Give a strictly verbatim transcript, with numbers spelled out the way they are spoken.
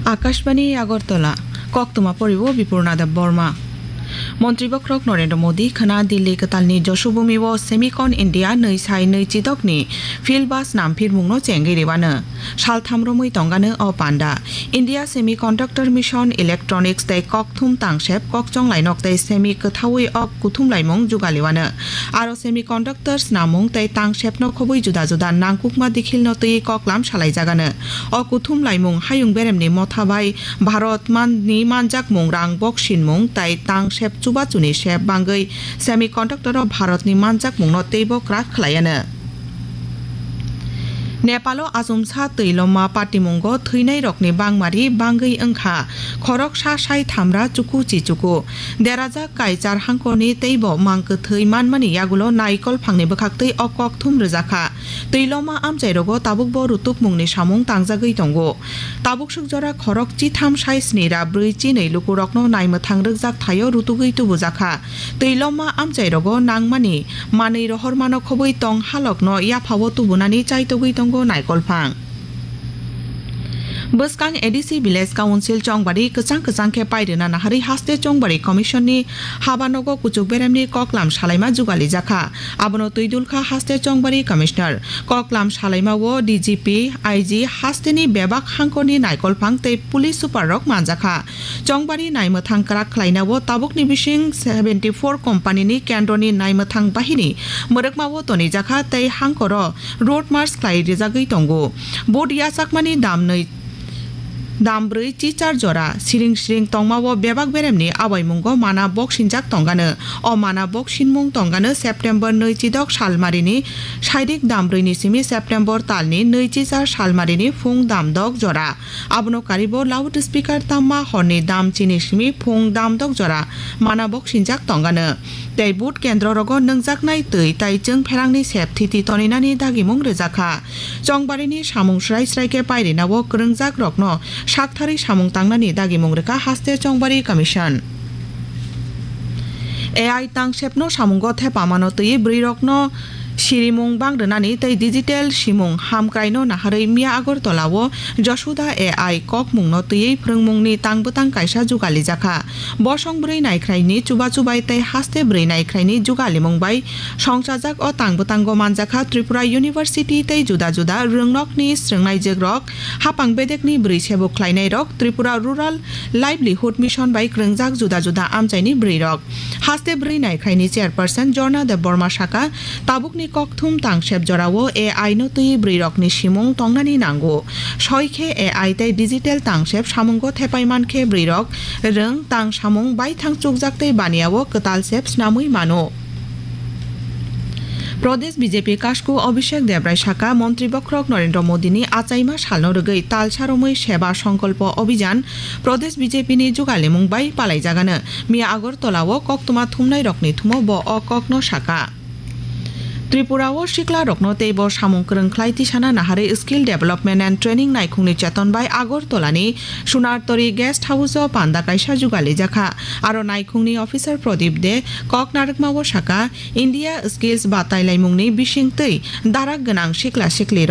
Akashbani Agartala, koktwma poriwo Bipurna Deb Borma. Montri bokhorok Narendra Modi khwna Delhi kwtalni Joshubhumi o Semicon India nwi sai nwi chidokni field bus namphirmungno chengwi rwano. Saltham romwi tongano o panda. India Semiconductor Mission, Electronics tei kokthum tangsep kokchong lainok tei semi kwthaui ok kuthum laimung jugaliwano. Aro semiconductor snamung tei tangsepno khobwi juda juda nangkukma dikhilno twi koklam salaijagano. O kuthum laimung hayung beremni motha bai Bharat man-, ni manjakmung rang boksinmung tei tangsep chubachuni sep bangwi semiconductor o Bharatni manjakmungno teibo kwrak khlaiano. Nepalo achomsa twi loma patimungo thwinairokni bangmari bangwi wngkha khoroksa sai thamra chuku chichuku. Derajak Kaichar hangkorni teibo mang kwthwi manmani yagulo naikol phangni bwkhaktwi o kokthum rwjakha. Twi loma amchairogo tabukbo rutukmungni samung tangjagwi tongo. Tabukswk jora khorok chitham sai sni ra brwi chinwi lukurokno naimwthang rwkjak thaio rutugwi tubujakha. Twi loma amchairogo nangmani manwi rohormano khobwi tong halokno yaphao tubunani chaitogwi tongo naikolphang. Bwskang A D C Village Council Chongbari kwchang kwchang khe pairwna naharwi haste Chongbari Commission ni habanogo kuchuk beremni koklam salaima jugalijakha. Abono twi dulkha haste Chongbari Commissioner. Koklam salaima o D G P, I G, hasteni bebak hangkorni naikolphang tei police super rok manjakha. Chongbari naimwthang kwrak khlaina o tabukni bising seventy four company ni kendroni naimwthang bahini mwrwkma o tonijakha tei hangkoro road march khlai rijagwi tongo. Boat yachakmani dam nwi, dam brwi chichar jora siring siring tongma o bebak beremni abaimungo mana boksinjak tongano. O mana boksinmung tongano September nwi chidok salmarini sairik dam brwi ni simi September talni nwi chichar salmarini phung dam dok jora. Abono karibo loudspeaker tamma horni dam chini simi phung dam dok jora mana boksinjak tongano. Tei boot kendro rogo nwngjaknai twi tai chwng pherangni sep thiti toninani dagimung rwjakha. Chongbarini samung srai srai khe pairina o kwrwngjak rokno saktharwi samung tangnani dagimung rwkha haste Chongbari Commission. A I tangsepno samungo thepamano twiwi bwrwirokno sirimung bang rwnani tei digital simung hamkraino naharwi miya Agartala o Josuda A I kokmungno twiwi phrwngmungni tang bwtang kaisa jugalijakha. Bosong bwrwi naikhraini chubachu bai tei haste bwrwi naikhraini jugalimung bai songchajak o tang bwtango manjakha Tripura University tei juda juda rwngnokni srwngnaijwkrok, hapang bedekni bwrwi sebuk khlainairok, Tripura Rural Livelihood Mission bai kwrwngjak juda juda amchaini bwrwirok. Haste bwrwi naikhraini chairperson Jorna Debbarma saka, tabukni kokthum tangsep jorao A I no twiwi bwrwirokni simung tongnani nango. Soi khe A I tei digital tangsep samungo thepai man khe bwrwirok rwng tang samung baithang chukjak tei baniya o kwtal sep snamwi mano. Pradesh B J P kasku Abhishek Debrai saka, Montri bokhorok Narendra Modi ni achaima salno rwgwi talsa romwi Seva Sankalpa Abhijan Pradesh B J P ni jugalimung bai palaijagano. Miya Agartala o koktwma thumnai rokni thumo bo o kokno saka. Tripura o sikla rokno teibo samung kwrwng khlai tisana naharwi Skill Development and Training naikhungni cheton bai Agartala ni Sunartori Guest House o panda kaisa jugalijakha. Aro naikhungni officer Pradip De kok narwkma o saka, India Skills batai laimungni bisingtwi darak gwnang sikla sikli rok